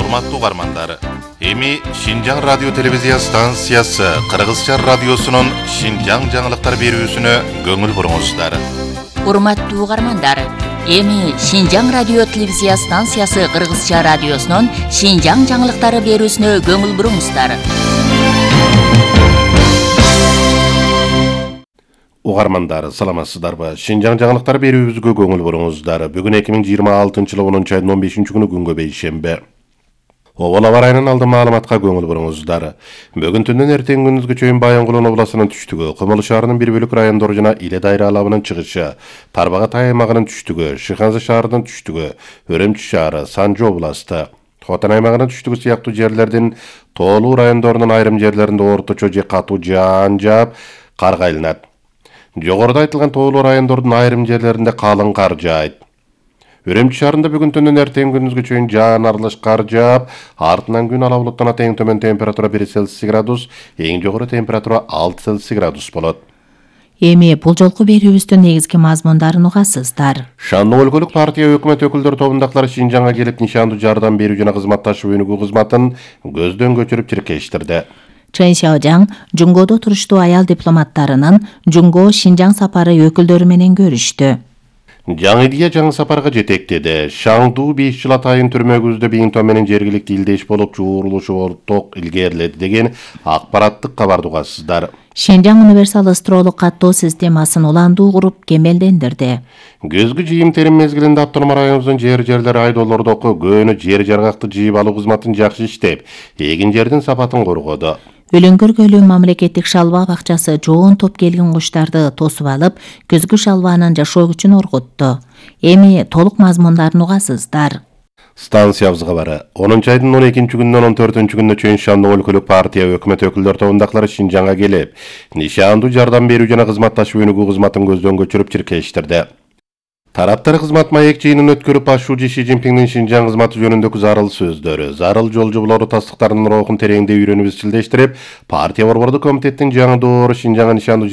Урматтуу угармандар, эми Шинжаң радио телевизия станциясы Кыргызча радиосунун Шинжаң жаңылыктар берүүсүнө көңүл буруңуздар. Урматтуу угармандар, эми Шинжаң радио телевизия станциясы Кыргызча радиосунун Шинжаң жаңылыктары берүүсүнө көңүл буруңуздар. Угармандар, саламатсыздарбы? Шинжаң жаңылыктар берүүбүзгө көңүл буруңуздар. Бүгүн 2026-жылы 10 айдын 15 күнү күнгө бейшембе. Обол аба ырайынын алды маалыматка көңүл буруңуздар. Бүгүн түндөн эртең күндүзгө чейин Баян-Кулон областынын түштүгү, Кымыл шаарынын бир бөлүк райондору жана Иле дайра алабынын чыгышы, Тарбагат аймагынын түштүгү, Шыханзы шаарынын түштүгү, Өрөмчү шаары, Санжы областы, Хотан аймагынын түштүгү сыяктуу жерлердин тоолуу райондорунун айрым жерлеринде орточо же катуу жаан жаап, кар кайланат. Жогоруда айтылган тоолуу райондордун айрым жерлеринде калың кар жаайт. Өрөмчү шаарында бүгүн түндөн эртең күндүзгө чейин жаан аралаш кар жаап, артынан күн ала булуттанат. Эң төмөн температура 1 Цельсий градус, эң жогору температура 6 Цельсий градус болот. Эми бул жолку берүүбүздүн негизги мазмундарын угасыздар. Шандуу өлкөлүк партия өкмөт өкүлдөрү тобундагылар Шинжаңга келип нишандуу жардам берүү жана кызматташуу өнүгүү кызматын көздөн көчүрүп тиркештирди. Чен Шаожаң Жунгодо туруштуу аял дипломаттарынын Жунго Шинжаң сапары өкүлдөрү менен көрүштү. Жаңы идея жаңы сапарга жетектеди. Шаңдуу 5 жыл атайын түрмөгүздө Биңто менен жергиликтүү илдеш болуп чуурулушу орток илгериледи деген акпараттык кабарды угасыздар. Шинжаң универсал ысыроолук каттоо системасын уландуу куруп кемелдендирди. Көзгү жыйым-терим мезгилинде автономия районубуздун жер-жерлери айдоолордоку көөнү жер-жаргакты жыйып алуу кызматын жакшы иштеп, эгин жердин сапатын коргоду. Өлүңгөр көлү мамлекеттик шалба бакчасы жоон топ келген куштарды тосуп алып, көзгү шалбанын жашоо күчүн оргутту. Эми толук мазмундарын угасыздар. Станциябызга бары 10 айдын 12 күнүнөн 14 күнүнө чейин Шандуу өлкөлүк партия өкмөт өкүлдөрү тобундагылар Шинжаңга келип, нишандуу жардам берүү жана кызматташуу өнүгүү кызматын көздөн көчүрүп тиркештирди. Тараптар кызмат маек жыйынын өткөрүп ашуучу Ши Цзиньпиңдин Шинжаң кызматы жөнүндөгү зарыл сөздөрү, зарыл жолжоболору тастыктарынын рухун тереңде үйрөнүп изчилдештирип, партия борбордук комитеттин жаңы доору Шинжаңга нишандуу